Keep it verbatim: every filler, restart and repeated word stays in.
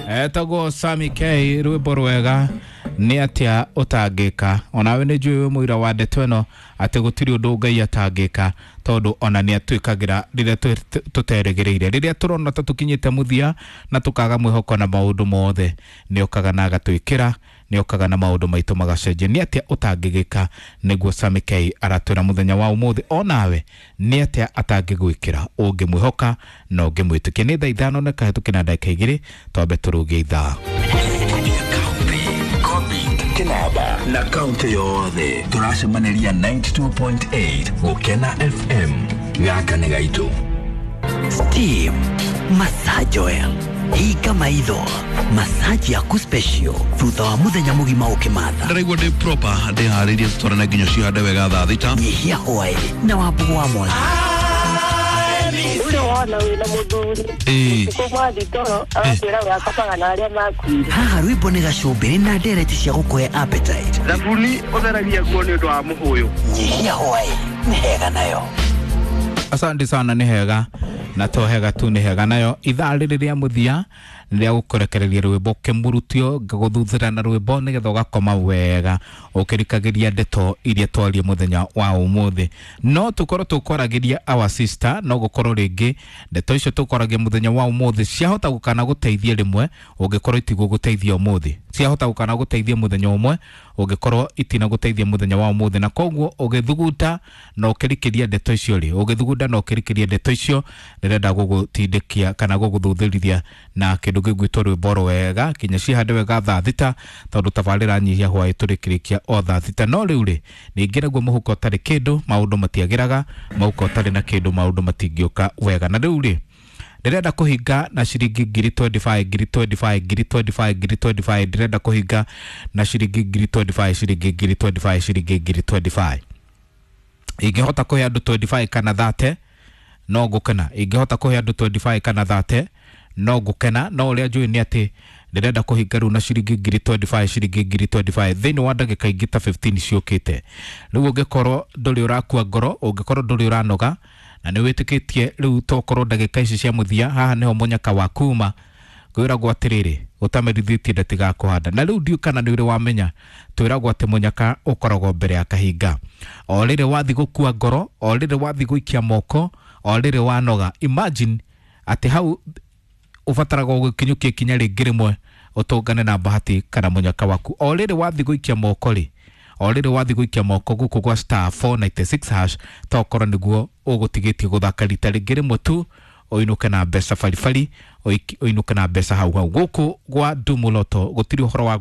Etagwo Sami K, rwĩmbo rwega nĩ atĩa ũtangĩka. Onawe nĩ njũĩ wĩ mũira wa ndeto ĩno atĩ gũtirĩ ũndũ Ngai atangĩka, tondũ ona nĩ atwĩkagĩra rĩrĩa tũ- tũterĩgĩrĩire, rĩrĩa tũrona ta tũkinyĩte mũthia na tũkaga mwĩhoko na maũndũ mothe, nĩ okaga na agatwĩkĩra, nĩ okaga na maũndũ maitũ magacenjia. Nĩ atĩa ũtangĩgĩka? Nĩguo Sami K aratwĩra mũthenya wa ũmũthĩ, onawe nĩ atĩa atangĩgwĩkĩra ũngĩmwĩhoka na ũngĩmwĩtĩkia. Nĩ thaa ithano na kahĩtũki na ndagĩka igĩrĩ, twambe tũrũgie ithaa. Kinaba na kaunti yothe tũracemaniria ninety-two point eight Gũkena F M. Gaka nĩ gaitũ. Steam Massage Oil, hinga maitho, massage yaku special thutha wa muthenya mugima ukimatha. Ndĩraigua ndĩ proper, ndĩharĩirie tũtwarane nginya cihande wega thaa thita. Nyihia hwaĩ na wambugu wa mwangi. Ũcio wona wĩna mũthuri Ĩĩ. ũtukũ mwathi toro agakwĩra we akomaga na arĩa makuire. Haha rwĩmbo nĩ gacũmbĩrĩ na ndereti cia gũkũhe appetite. Thabuni ũtheragia nguo nĩ ũndũ wa mũhũyũ. Nyihia hwaĩ nĩ hega nayo. Asante sana, nĩ hega na to hega tu, nĩ hega nayo. Ithaa rĩrĩ rĩa mũthia nĩ rĩa gũkũrekereria rwĩmbo kĩmurutio, ngagũthuthĩra na rwĩmbo nĩgetha ũgakoma wega ũkĩrikagĩria ndeto iria twarie mũthenya wa ũmũthĩ. No tũkorwo tũkwaragĩria our sister, no gũkorwo rĩngĩ ndeto icio tũkwaragia mũthenya wa ũmũthĩ ciahota gũkana gũteithia rĩmwe, ũngĩkorwo itigũgũteithia ũmũthĩ, ciahota gũkana gũteithia mũthenya ũmwe, ũngĩkorwo itina gũteithia mũthenya wa ũmũthĩ. Na koguo ũgĩthuguta na ũkĩrikĩria ndeto icio rĩ, ũgĩthugunda na ũkĩrikĩria ndeto icio, ndĩrenda gũgũtindĩkia kana gũgũthuthĩrithia na kĩndũ gĩgwĩtwo rwĩmbo rwega kinya cihande wega thaa thita, tondũ tabarĩra nyihia hwaĩ tũrĩkĩrĩkia o thaa thita. No rĩu rĩ, ningĩ naguo mũhuko ũtarĩ kĩndũ maũndũ matiagĩraga, mũhuko ũtarĩ na kĩndũ maũndũ matingĩũka wega. Na rĩu rĩ, ndĩrenda kũhinga na ciringi ngiri mĩrongo ĩrĩ na ithano, ngiri mĩrongo ĩrĩ na ithano, ngiri mĩrongo ĩrĩ na ithano, ngiri mĩrongo ĩrĩ na ithano. Ndĩrenda kũhinga na ciringi ngiri mĩrongo ĩrĩ na ithano, ciringi ngiri mĩrongo ĩrĩ na ithano, ciringi ngiri mĩrongo ĩrĩ na ithano. Ingĩhota kũhe andũ mĩrongo ĩrĩ na ithano kana thirty no ngũkena. Ingĩhota kũhe andũ mĩrongo ĩrĩ na ithano kana thirty no ngũkena. No ũrĩa njũĩ nĩ atĩ ndĩrenda kũhinga rĩu na ciringi ngiri mĩrongo ĩrĩ na ithano, ciringi ngiri mĩrongo ĩrĩ na ithano thĩinĩ wa ndagĩka ingĩ ta ikũmi na ithano ciũkĩte. Rĩu ũngĩkorwo ndũrĩ ũrakua ngoro, ũngĩkorwo ndũrĩ ũranoga na nĩ wĩtĩkĩtie rĩu tokorwo ndagĩka ici cia mũthia haha nĩho mũnyaka wa kuma, kwĩragwo atĩrĩrĩ, ũtamerithĩtie ndatigakũhanda. Na rĩu ndiũ kana nĩ ũrĩ wamenya, twĩragwo atĩ mũnyaka ũkoragwo mbere ya kahinga. O rĩrĩ wathi gũkua ngoro, o rĩrĩ wathi gũikia moko, o rĩrĩ wanoga, imagine atĩ hau ũbataraga gũkinyũkia ikinya rĩngĩ rĩmwe ũtũngane na bahati kana mũnyaka waku. O rĩrĩ wathi gũikia moko rĩ, o rĩrĩ wathi gũikia moko gũkũ gwa star four nine six hash, tokorwo nĩguo ũgũtigĩtie gũthaka rita rĩngĩ rĩmwe tu, ũinũke na mbeca baribari, ũinũke na mbeca hau hau gũkũ gwa Ndumuloto gũtirĩ ũhoro wa.